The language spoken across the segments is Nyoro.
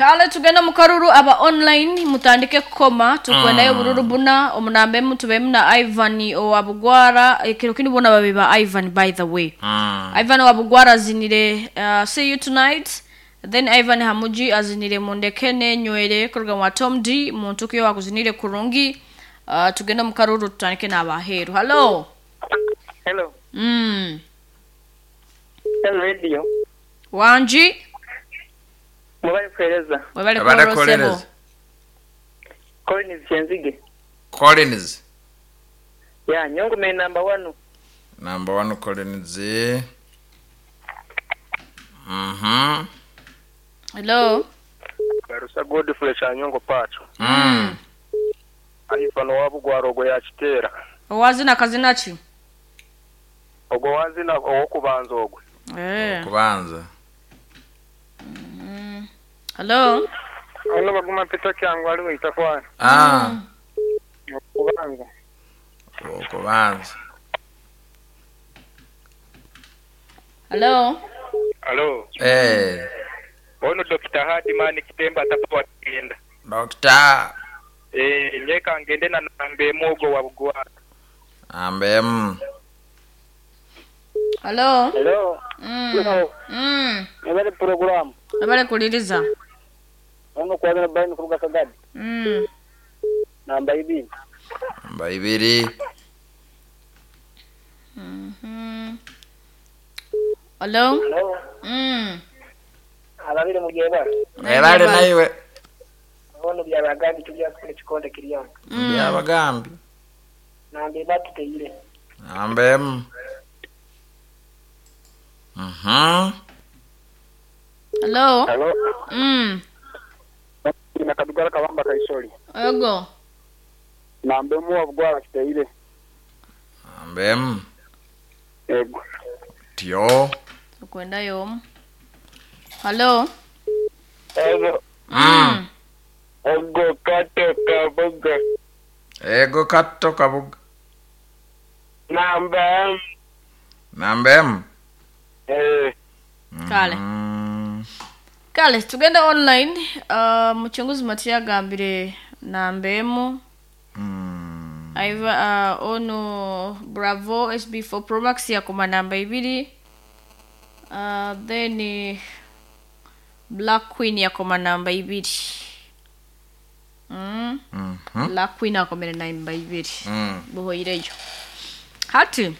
Kale tugende mu karuru aba online mutandike kukoma tukwendayo obururu buna omunamba emu tubemu na Ivan owa Bugwara ekiro kinu bona babe ba Ivan, by the way. Ivan owa Bugwara azinire "See You Tonight", then Ivan Hamuji azinire "Mundeke Nenywere" kuruga wa Tom D muntu kiyo akuzinire kurungi. Tugende mu karuru tutandike n'abaheru. Hello. Hello. Hello Radio. Wanji. Mubale kuhereza. Webale. Abale. Korosebo. Kuhereza. Collins Kyenzige. Collins. Ya, nyongo me number 1. Number 1 Collins. Hello. Barusa Godfrey Kyanyongo Pacho. Aifano wabugwara ogwo yakiteera. Owazina kazina ki? Ogwo wazina owokubanza ogwe. Eh. Kubanza. Hello. Ono baguma pita kyangu aliwo itafwana. Ah. Okubanza. Okubanza. Hello. Hello. Eh. Ono Dr. Hardman Kitemba atapoa kigenda. Doctor. Eh, nyeka ngende na nambe mugo wa bugwara. Ambem. Hello. Hello. Hello. Ebale program. Abale kuliriza. Ono kwagala bayini kuruga Kagadi. Namba ibiri. Namba ibiri. Hello. Hello. Ababiri mu gyebale. Ebale naiwe. Ono byabagambi tujja kufuna ekikonde kiryanga. Byabagambi. Namba ebatu teyire. Ambem. Hello. Hello. Na Kadugala Kabamba Kaisoli. Ego. Namba emu wa bugwara kiteire. Ambem. Ego. Tio. Tukwendayo omu. Hello. Ego. Ego kato kabuga. Ego kato kabuga. Namba emu. Namba emu. Eh. Kale. Kale tugende online. Muchunguzi Matia agambire namba emu. Aiva ono Bravo SB4 Pro Max yakoma namba ibiri. Then Black Queen yakoma namba ibiri. Black Queen akomere namba ibiri. Buhoireyo. Hati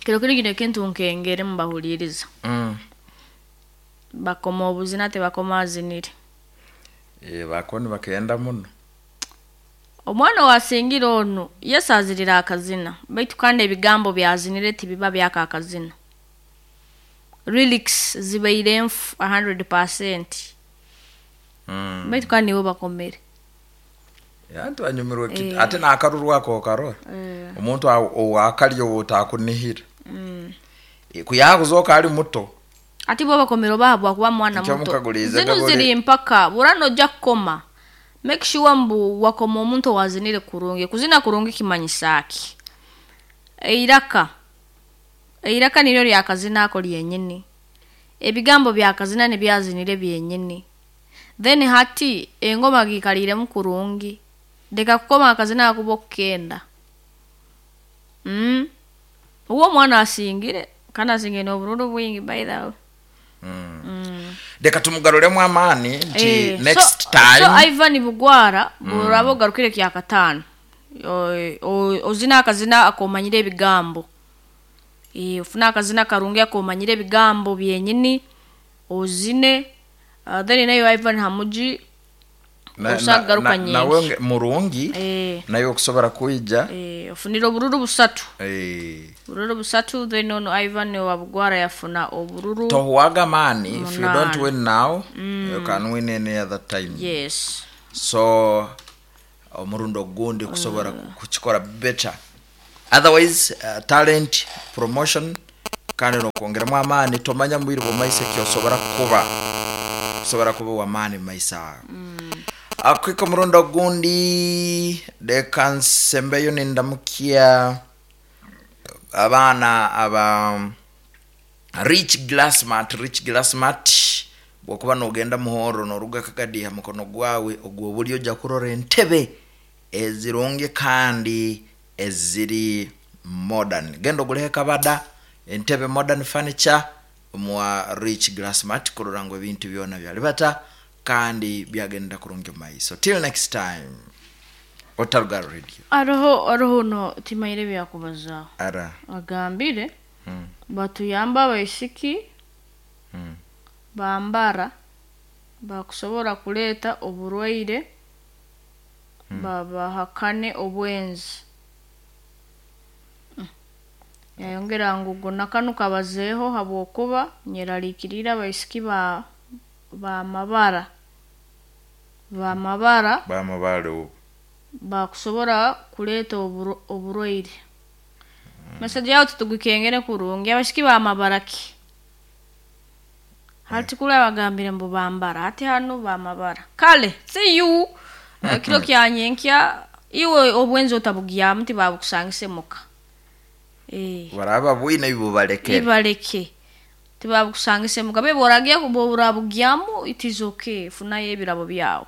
kiro kiri kino ekintu nkengere mubahuliriza. Bakoma obuzina tebakoma azinire. Eh, bakoni bakenda muno. Omwana wasingira ono yesazirira akazina baitu kandi ebigambo byazinire tibiba byaka akazina. Lyrics zibaire enfu 100%. Baitu kandi nibo bakomere. Anti banyumirwe kiti ate n'akaruru ako karora. Omuntu owakalyo otakunihira. Kuyakuzoka ali muto. Ati bo bakomere obahabwa kuba mwana Nikyo muto. mukagulize Zino gabole. ziri mpaka burano ojja kukoma. Make sure mbu wakoma omuntu owazinire kurungi. Kuzina kurungi kimanyisa ki? Eiraka. Eiraka niryo lyakazina ako lyenyini. Ebigambo byakazina nebyazinire byenyini. Then hati engoma gikaliremu kurungi. Leka kukoma akazina akuba okukenda. Uwo omwana asingire kandi asingire n'obururu bwingi by the way. Reka tumugaruremu amaani nti Eh, next so, time. So Ivan Bugwara buraba ogarukire kya kataano. Ozina akazina akomanyire ebigambo. Ofuna akazina karungi akomanyire ebigambo byenyini ozine. Then nayo Ivan Hamuji osagaruka nyingi. Nawe murungi naye okusobola kuija. Ofunire obururu busatu. Bururu busatu then ono Ivan wa Bugwara yafuna obururu. Tohuwaga maani if you don't Munana. win now you can win any other time. Yes. So omurundi ogundi kusobola kukikora better. Otherwise talent promotion kandi nokwongeremu amaani tomanya mubiri bw'omaiso ekyosobora kuba kusobora kuba wamaani mumaiso ago. Akwika omurundi ogundi leka nsembeyo nindamukia abaana aba Rich Glassmat. Rich Glassmat Bwokuba nogenda Muhorro noruga Kagadi, ha mukono gwawe ogw'obulyo ojja kurora entebe ezirungi kandi eziri modern. Genda oguleho ekabada entebe modern furniture omwa Rich Glassmart kurora ngu ebintu byona byalibata kandi byagenda kurungi omu maiso. Till next time, otaruga radio. Aroho no timaire byakubazaaho. Ara. Agambire batuyambe abaisiki bambara bakusobora kuleeta oburwaire, babahakane obwenzi. Yayongera ngu go nakanu kabazeeho habwokuba nyeraliikiriire abaisiki ba bamabara bamabara Bamabale ubu. Bakusobora kuleeta oburwaire. Message yawe tutugikengere kurungi. Abaisiki bamabara ki hati? Kula bagambire mbu bambara, hati hanu bamabara. Kale, see you kiro kyanyenkya. Iwe obwenzi otabugyamu, tibabukusangise muka. Baraba bwine ibubalekere. Ibaleke, tibabukusangise muka. Bebe oragiya, borabugyamu, it is okay, funayo ebirabo byawe.